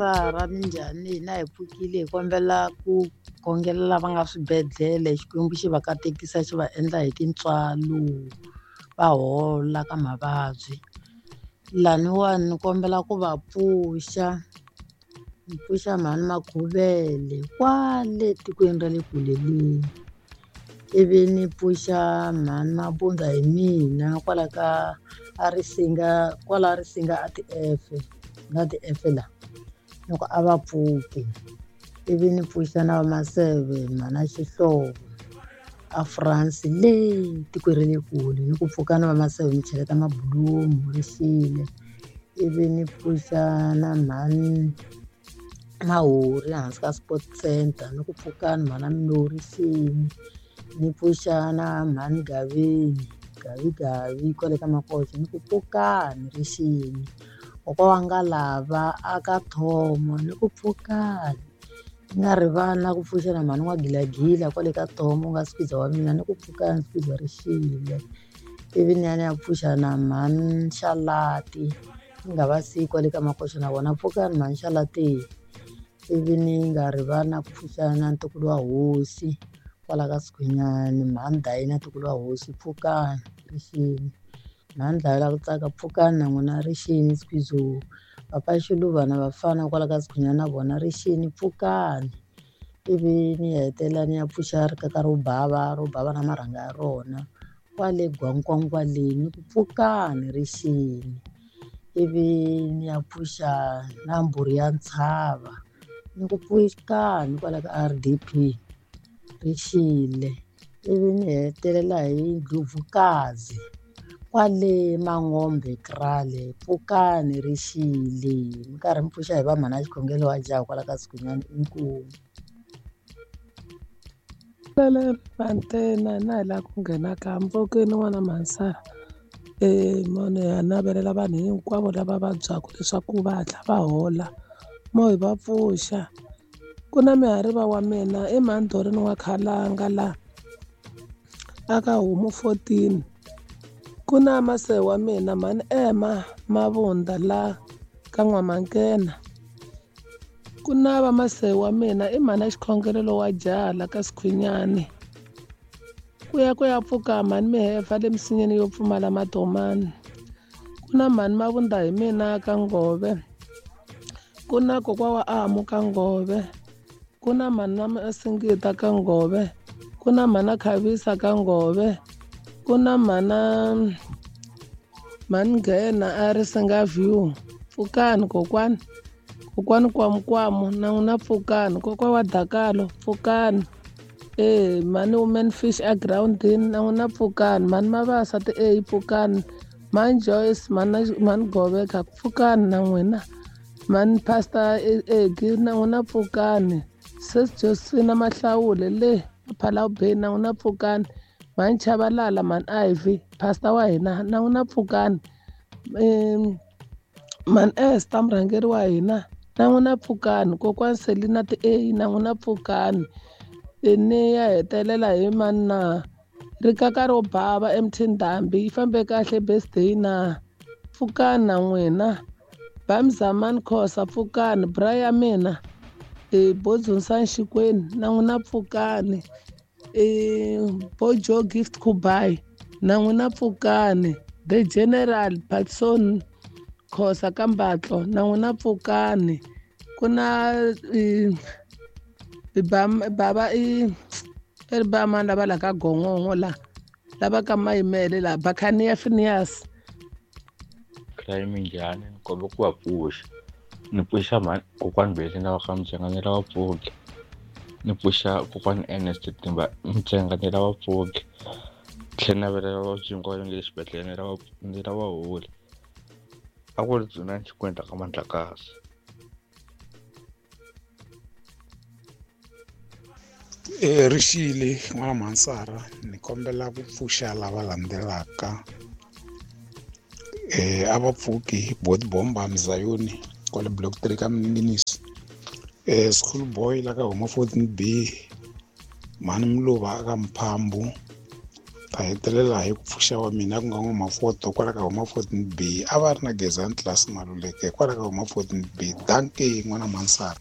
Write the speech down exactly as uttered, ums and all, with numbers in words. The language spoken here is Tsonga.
Mhansara minjhani hina hi pfukile hi kombela ku khongelela lava nga swibedhlele Xikwembu xi va katekisa xi va endla hi tintswalo va hola ka mavabyi laniwani ni kombela ku va pfuxa ni pfuxa mhani Makhuvele kwale tikweni ra le kule le ivi ni pfuxa mhani Mabunda hi mina kwala ka a Risinga kwala Risinga a ti-F na ti-F la ni ku a va pfuki ivi ni pfuxa na va Maseve mhana Xihlovo a France le tikweni ra le kule ni ku pfuka na va Maseve mi cheleta mabulomu ri xile ivi ni pfuxa na mhani Mahori hansi ka sport center ni ku pfukani mhana Mlori xini ni pfuxa na mhani Gaveni Gavigavi kwale ka Makoxa ni ku pfukani ri xini kokwa wa Ngalava a ka Thomo ni ku pfukani ni nga rivali na ku pfuxa na mhani N'wagilagila kwale ka Thomo ku nga squeezer wa mina ni ku pfukani squeezer ri xile ivi ni ya ni ya pfuxa na mhani Xalati ni nga va siyi kwale ka Makoxa na vona pfukani mhani Xalati ivi ni nga rivali na ku pfuxa na ntukulu wa hosi kwala ka Sikhunyani mhani Dayina ntukulu wa hosi pfukani ri xile mhani Dlayela ku tsaka pfukani na n'wina ri xini squeezo papa Xiluva na vafana kwala ka Sikhunyani na vona ri xini pfukani ivi ni hetelela ni ya pfuxa rikaka ro bava ro bava na marhanga ya rona kwale Gwankwangwaleni ni ku pfukani ri xini ivi ni ya pfuxa na mbhuri ya ntshava ni ku pfukani kwala ka R D P ri xile ivi ni hetelela hi Ndlovukazi kwale Mangombe Krale pfukani ri xile mi karhi mi pfuxa hi va mhana xikhongelo wa jaha kwala ka Sikhunyani inkomu. Lele Mantena na hi laha ku nghena ka mpfukeni n'wana Mhansara e mone ha navelela vanhu hinkwavo lava vabyaka leswaku va hatla va hola mo hi va pfuxa ku na mihariva wa mina i mhani wa Khalanga la aka homu fourteen ku na mase wa mina mhani Emma Mavunda la ka N'wamankena ku na va mase wa mina i mhani xikhongelelo wa jaha la ka Sikhunyani ku ya ku ya pfuka mhani Mihefa le misinyeni yo pfumala matomani ku na mhani Mavunda hi mina ka Ngove ku na kokwa wa Amu ka Ngove ku na mhani na Singita ka Ngove ku na mhana Khavisa ka Ngove ku na mhana mhani Nghena a Risinga View pfukani kokwani kokwani Kwamukwamu na n'wina pfukani kokwa wa Dakalo pfukani e mhani Woman Fish a groundini na n'wina pfukani mhani Mavasa ti e pfukani mhani Joyce mhani mhani Goveka pfukani na n'wina mhani Pastor Egi na n'wina pfukani Sis Josephina Mahlawule le Phalawubeni na n'wina pfukani mhani Chabalala mhani Ivy pastor wa hina na n'wina pfukani mhani Esther murhangeri wa hina na n'wina pfukani kokwani Selina ti A na n'wina pfukani ni ya hetelela hi mani na rikaka ro bava M T Ndhambi yi fambe kahle birthday na pfukani na n'wina Bamzamani Khosa pfukani bra ya mina e Bodzonsan Xikweni na n'wina pfukani e Bojo Gift Kubai na n'wina pfukani The General Patson Khosa Kambatlo na n'wina pfukani ku na baba i ri ba mani lava la ka Gongongo la lava ka Mayimele la Bakhaniya Phineas Crime njhani ni kombe ku va pfuxa ni pfuxa mhani kokwani Beli na va ka Mutsenga ni lava pfuki ni pfuxa kokwani Ernest Timba Mutsenga ni lava pfuki tlhela navelela vavabyi hinkwavo nge le xibedhlele ni lava ni lava holi a ku ri Dzunani Xikwenda ka Mandlakazi. E rixile n'wana Mhansara ni kombela ku pfuxa lava landzelaka eh a va pfuki bot bomba Mzayoni kwale block three ka Mninginisi eh school boy la ka homa fourteen B mhani Mluva ka Mphambu Ta hetelela hi ku pfuxa wa mina ku nga N'wamafoto kwala ka huma fourteen B, a va ri na Gezani Tlilasi Maluleke kwala ka huma fourteen B. Dankie n'wana Mansara.